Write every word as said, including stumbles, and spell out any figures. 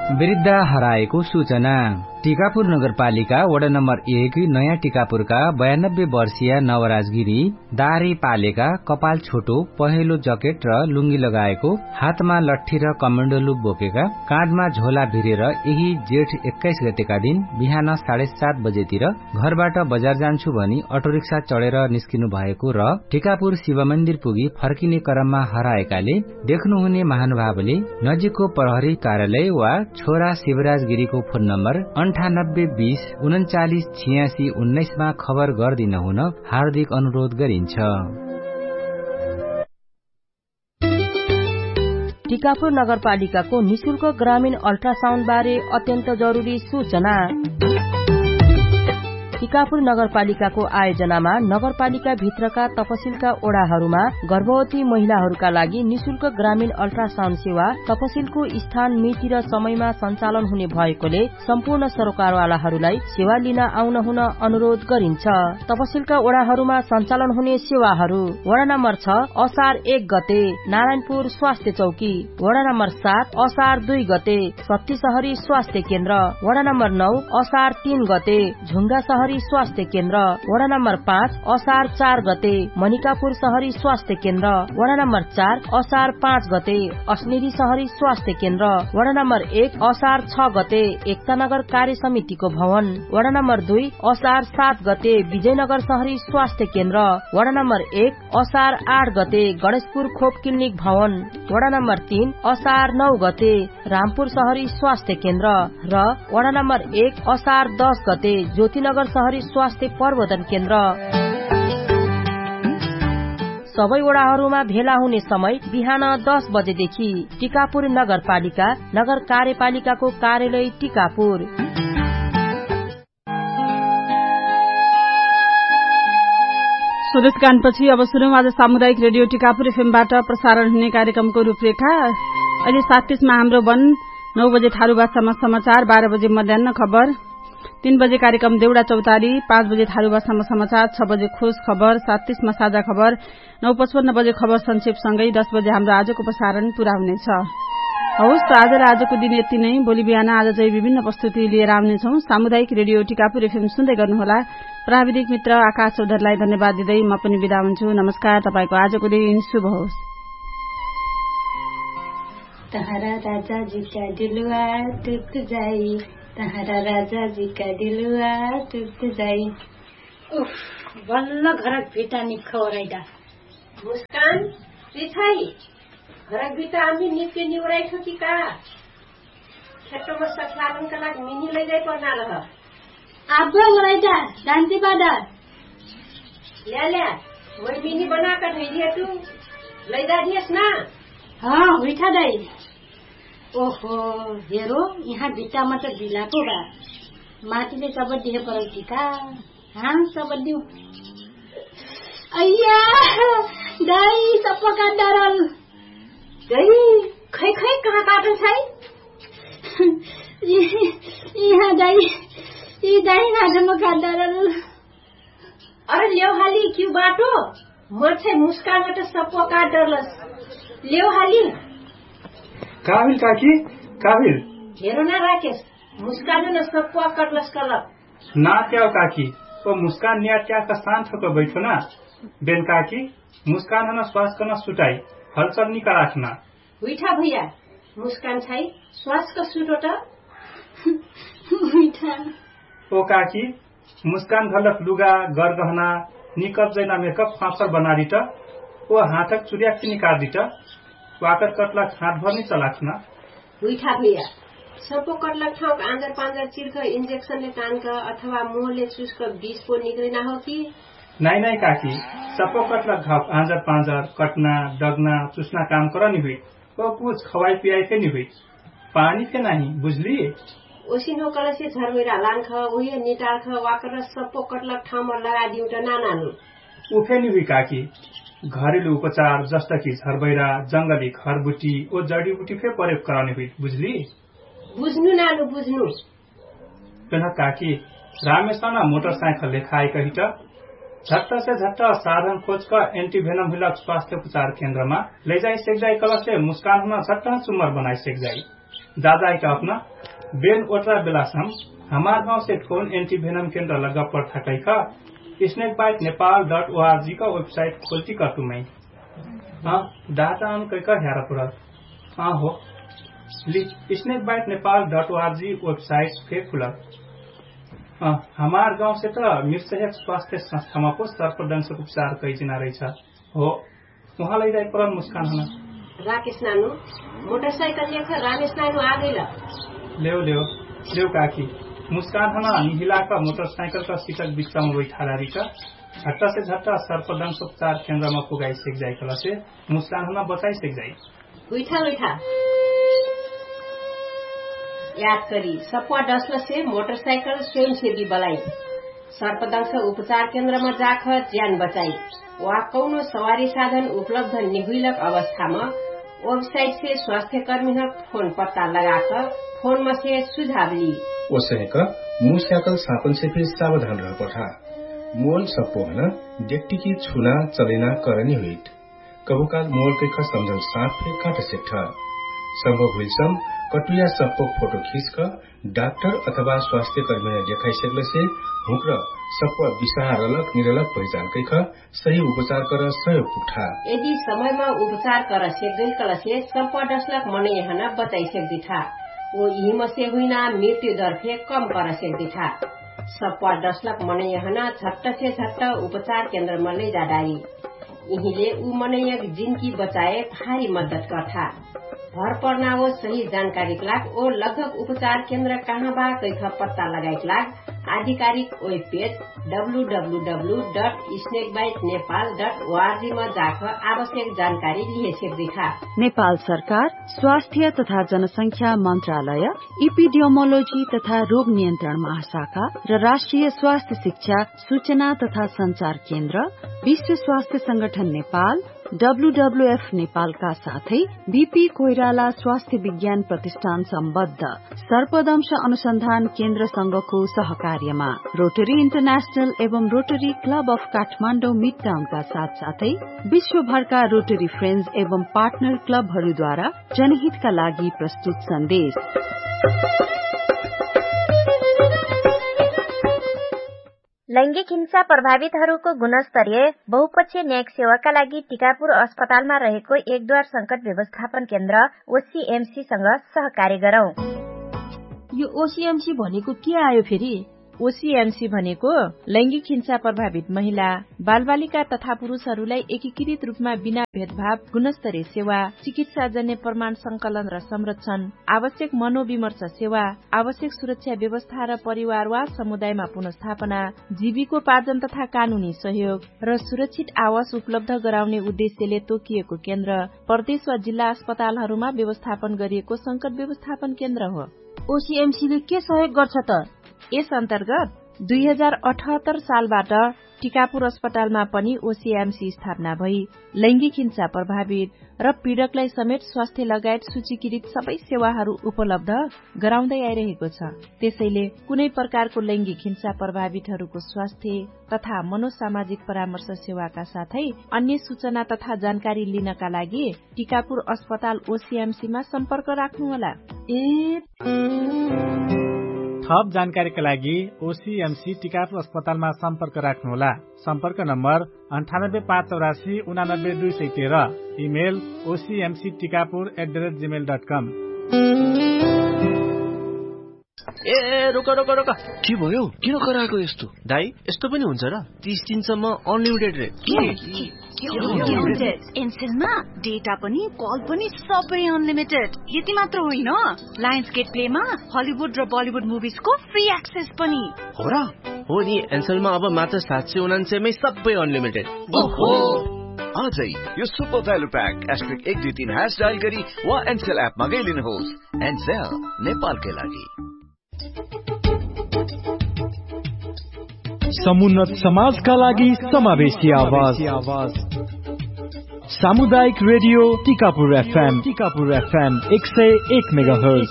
वृद्धा हराएको सूचना। टिकापुर नगरपालिका वडा नम्बर एक नयाँ टिकापुरका बयानब्बे वर्षिया नवराजगिरी दारी पालेका कपाल छोटो पहेलो जकेट र लुङ्गी लगाएको, हातमा लट्ठी र कमण्डलु बोकेका, काँधमा झोला भिरेर यही जेठ एक्काइस गतेका दिन बिहान साढे सात बजेतिर घरबाट बजार जान्छु भनी अटोरिक्सा चढेर निस्किनु भएको र टिकापुर शिवमन्दिर पुगी फर्किने क्रममा हराएकाले देख्नुहुने महानुभावले नजिकको प्रहरी कार्यालय वा छोरा शिवराजगिरीको फोन नम्बर अन्ठानब्बे बीस उनन्चालीस छियासी उन्नाइसमा खबर गर्दिन हुन हार्दिक अनुरोध गरिन्छ। टिकापुर नगरपालिकाको निशुल्क ग्रामीण अल्ट्रासाउन्ड बारे अत्यन्त जरुरी सूचना। टिकापुर नगरपालिकाको आयोजनामा नगरपालिकाभित्रका तपसिलका ओडाहरूमा गर्भवती महिलाहरूका लागि निशुल्क ग्रामीण अल्ट्रासाउन्ड सेवा तपसिलको स्थान मिति र समयमा सञ्चालन हुने भएकोले सम्पूर्ण सरोकारवालाहरूलाई सेवा लिन आउन हुन अनुरोध गरिन्छ। तपसिलका ओडाहरूमा सञ्चालन हुने सेवाहरू वडा नम्बर छ असार एक गते नारायणपुर स्वास्थ्य चौकी, वडा नम्बर सात असार दुई गते सत्ती सहरी स्वास्थ्य केन्द्र, वडा नम्बर नौ असार तीन गते झुङ्गा सहरी स्वास्थ्य केन्द्र, वडा नम्बर पाँच असार चार गते मनिकापुर सहरी स्वास्थ्य केन्द्र, वडा नम्बर चार असार पाँच गते अस्नेरी सहरी स्वास्थ्य केन्द्र, वडा नम्बर एक असार छ गते एकतानगर कार्य समितिको भवन, वडा नम्बर दुई असार सात गते विजयनगर सहरी स्वास्थ्य केन्द्र, वडा नम्बर एक असार आठ गते गणेशपुर खोप क्लिनिक भवन, वडा नम्बर तीन असार नौ गते रामपुर सहरी स्वास्थ्य केन्द्र र वडा नम्बर एक असार दस गते ज्योतिनगर सहरी स्वास्थ्य प्रवर्धन केन्द्र। सबै वडाहरूमा भेला हुने समय बिहान दस बजेदेखि। टिकापुर नगरपालिका, नगर कार्यपालिकाको कार्यालय टिकापुर। स्वदेश गानपछि अब सुनौँ आज सामुदायिक रेडियो टिकापुर एफएमबाट प्रसारण हुने कार्यक्रमको रूपरेखा। अहिले सात तीसमा हाम्रो बन, नौ बजे थारू भाषामा समाचार, बाह्र बजे मध्यान्न खबर, तीन बजे कार्यक्रम देउडा चौतारी, पाँच बजे थारू भाषामा समाचार, छ बजे खोज खबर, सात तीसमा साझा खबर, नौ पचपन्न बजे खबर संक्षेपसँगै दस बजे हाम्रो आजको प्रसारण पुरा हुनेछ। हौस् त आजलाई आजको दिन यति नै। भोलि बिहान आज चाहिँ विभिन्न प्रस्तुति लिएर आउनेछौँ। सामुदायिक रेडियो टिकापुर एफएम सुन्दै गर्नुहोला। प्राविधिक मित्र आकाश चौधरीलाई धन्यवाद दिँदै म पनि बिदा हुन्छु। नमस्कार, तपाईँको आजको दिन शुभ होस्। तहरा राजा जी का दिलवा टुट जाई, तहरा राजा जी का दिलवा टुट जाई। उफ, बल्ल घरक भिटा निखौरैदा। मुस्कान, रिछाई, घरक भिटा आम्ही निप्के निउराइठो कि का? खेतोमा सख्यालन कलाक मिनी लैजाइ पर्ना रह। आब्बो ओरैदा, दान्ती बादा। ल्या ल्या, वै मिनी बनाक धैदिया तु, लैजा दियस ना। हँ हुइठा दाइ। ओहो, हेरो, यहाँ भिटामा त बिलाको बा। माटीले सब दिहे परौती का? हाँ सब दिउ। अइया, दाइ सप्पा का डरल। दाइ, खै खै कहाँ काटल छै? यहाँ दाइ, यी दाइ नाजमा का डरल। अरे लेउ हाली क्यु बाटो? मर्छे मुस्कान त सप्पो काट डरलस। लेउ हाली। का हुइल काकी? का हुइल? हेरो ना राकेश, मुस्कान न सप्पो काटलस कलक। ना क्याउ काकी, ओ मुस्कान निया क्या का शान्त होकर बैठो ना। बेन काकी, मुस्कान हन स्वास कन सुटाई, हलचल निका राखना। हुइठा भैया, मुस्कान छाई स्वास क सुटो त। हुइठा। ओ काकी, मुस्कान घलक लुगा, गरगहना, निकप जैना मेकअप फाफर बनारिट, ओ हाथक चुर्याक निकारिट, वाकर कटलक हाथ भर नि चलाखना। हुइठा भैया, सप्पो कटलक ठाउक आँजर पाँजर चिर्ख इन्जेक्सनले तानक अथवा मोहले चुस्क बिस पो निकरिना हो कि? नाइ नाइ काकी, सप्पो कटलक घाउक आँजर पाँजर कटना, डगना, चुस्ना काम करनी हुइ। ओ कुछ खवाई पियाई फेनी हुइ। पानी फे नाही बुझली? ओसिन हो कलसे झरबैरा लानख उहे निटारख वाकर सप्पो कटलक ठाउमा लगादिउट नानानु। उफे नि हुइ काकी, घरेलु उपचार जस्ता कि झरबैरा, जंगली घरबुटी ओ जडीबुटी फे प्रयोग करने हुइ बुझली? बुझनु नानु बुझनु। पेन्ह काकी, रामेशना मोटरसाइकल लेखाइ कहिट झट्ट से झट्ट साधन खोजक एन्टिभेनम हुइलक स्वास्थ्य उपचार केन्द्रमा लैजाइ सेक्जाइ कलसे मुस्कान हुन झट्ट चुम्मर बनाइ सेक्जाइ। दादाइक अपना बेन ओट्रा बेलासम हमार गाउँसे कौन एन्टिभेनम केन्द्र लग्गा पर्थाकैख snake byte Nepal dot ORG का वेबसाइट खोल्टी कर्तुमै। डाटा अन कैक ह्यारा पुरल। अहो, snake byte Nepal dot ORG website फे खुलल। हमार गाउँसे त मिर्सहेक स्वास्थ्य संस्थामा पो सर्पदंशक उपचार कैजिना रैछ। हो, उहाँ लैजाइ परल मुस्कान हन। राकेश नानु, मोटरसाइकल लेख रामेश नानु आगैल। लेउ लेउ, लेउ काकी। मुस्कान हन निहिलाक मोटरसाइकल का सिटक बिच्चामा बैठालारिक झट्टसे झट्ट सर्पदंशोपचार केन्द्रमा पुगाइ सेक जाइ कलसे मुस्कान हन बचाइ सेक जाइ। उइठा उइठा। याद करी सप्वा डसलसे मोटरसाइकल स्वयंसेवी बलाई। सर्पदंश उपचार केन्द्रमा जाख ज्यान बचाई। वा कौनो सवारी साधन उपलब्ध निहुइलक अवस्थामा वेबसाइटसे स्वास्थ्यकर्मीह फोन पत्ता लगाक फोनमसे सुझाव ली। ओसहेक मुस्याकल सापनसे फिर सावधान रहपठा। मोल सप्पोहन डेक्टिकी छुना चलैना करनी हुइट। कभुकाल मोल कैख सम्झल साप फे काट सेक्ठ। सम्भव हुइलसम कटुया सप्पो फोटो खिसक डाक्टर अथवा स्वास्थ्यकर्मीन देखाइ सेक्लसे हुँक्र सप्प बिसाहा रलक निरलक पहिचान कैख सही उपचार कर सहयोग पुग्ठा। यदि समयमा उपचार कर सेक्गैल कलसे सप्प डसलक मनैहन बचाइ सेक्दिठा। ओ इहिमसे हुइना मृत्यु दर फे कम कर सेक्दिठा। सप्प डसलक मनैहन झट्टसे झट्ट उपचार केन्द्रमा लैजाडारी। इहिले उ मनैयक जिन्की बचाए भारी मद्दत कर्ठा। भर पर्ना ओ सही जानकारीक लाग ओ लगभग उपचार केन्द्र कहाँ बा कैख पत्ता लगाइक लाग आधिकारिक web page W W W dot snake byte Nepal dot ORG मा जाख आवश्यक जानकारी लिहे सेक्दिठा। नेपाल सरकार स्वास्थ्य तथा जनसंख्या मन्त्रालय इपिडियोमोलोजी तथा रोग नियन्त्रण महाशाखा र राष्ट्रिय स्वास्थ्य शिक्षा सूचना तथा सञ्चार केन्द्र विश्व स्वास्थ्य संगठन नेपाल डब्लुडब्लुएफ नेपालका साथै बिपी कोइराला स्वास्थ्य विज्ञान प्रतिष्ठान सम्बद्ध सर्पदंश अनुसन्धान केन्द्रसँगको सहकार्यमा रोटरी इन्टरनेशनल एवं रोटरी क्लब अफ काठमाडौँ मिडटाउनका साथसाथै विश्वभरका रोटरी फ्रेन्ड्स एवं पार्टनर क्लबहरूद्वारा जनहितका लागि प्रस्तुत सन्देश। लैङ्गिक हिंसा प्रभावितहरूको गुणस्तरीय बहुपक्षीय न्यायिक सेवाका लागि टिकापुर अस्पतालमा रहेको एकदुवार संकट व्यवस्थापन केन्द्र ओसिएमसीसँग सहकार्य गरौँ। यो ओसिएमसी भनेको के आयो फेरि? ओसिएमसी भनेको लैङ्गिक हिंसा प्रभावित महिला, बालबालिका तथा पुरुषहरूलाई एकीकृत रूपमा बिना भेदभाव गुणस्तरीय सेवा, चिकित्साजन्य प्रमाण संकलन र संरक्षण, आवश्यक मनोविमर्श सेवा, आवश्यक सुरक्षा व्यवस्था र परिवार वा समुदायमा पुनर्स्थापना, जीविकोपार्जन तथा कानुनी सहयोग र सुरक्षित आवास उपलब्ध गराउने उद्देश्यले तोकिएको केन्द्र प्रदेश वा जिल्ला अस्पतालहरूमा व्यवस्थापन गरिएको संकट व्यवस्थापन केन्द्र हो। ओसिएमसीले के सहयोग गर्छ त? यस अन्तर्गत दुई हजार अठहत्तर सालबाट टिकापुर अस्पतालमा पनि ओसिएमसी स्थापना भई लैङ्गिक हिंसा प्रभावित र पीडकलाई समेत स्वास्थ्य लगायत सूचीकृत सबै सेवाहरू उपलब्ध गराउँदै आइरहेको छ। त्यसैले कुनै प्रकारको लैङ्गिक हिंसा प्रभावितहरूको स्वास्थ्य तथा मनोसामाजिक परामर्श सेवाका साथै अन्य सूचना तथा जानकारी लिनका लागि टिकापुर अस्पताल ओसिएमसीमा सम्पर्क राख्नुहोला। ए थप जानकारीका लागि ओसिएमसी टिकापुर अस्पतालमा सम्पर्क राख्नुहोला। सम्पर्क नम्बर अन्ठानब्बे पाँच चौरासी उनानब्बे दुई सय तेह्र। Email OCMC Tikapur at the rate Gmail dot com. ए, रोक, रोक, रोक। के भयो? किन कराएको यस्तो? दाइ, यस्तो पनि हुन्छ र? तीस दिनसम्म अनलिमिटेड रे। के? एन्सेलमा डेटा पनि, कल पनि सबै अनलिमिटेड। यति मात्र होइन, लायन्स गेट प्लेमा हलिउड र बलिउड मुभिजको फ्री एक्सेस पनि। हो र? हो नि, एन्सेलमा अब मात्र सात सय उनान्सयमै सबै अनलिमिटेड। ओहो। आजै यो सुपर भ्यालु प्याक एस्ट्रिक एक दुई तीन ह्यास डायल गरी वा एन्सेल एपमा गइलिनुहोस्। एन्सेल, नेपालकै लागि। समुन्नत समाजका लागि समावेशी आवाज। सामुदायिक रेडियो टिकापुर एफएम, टिकापुर एफएम एक सय एक मेगाहर्ज।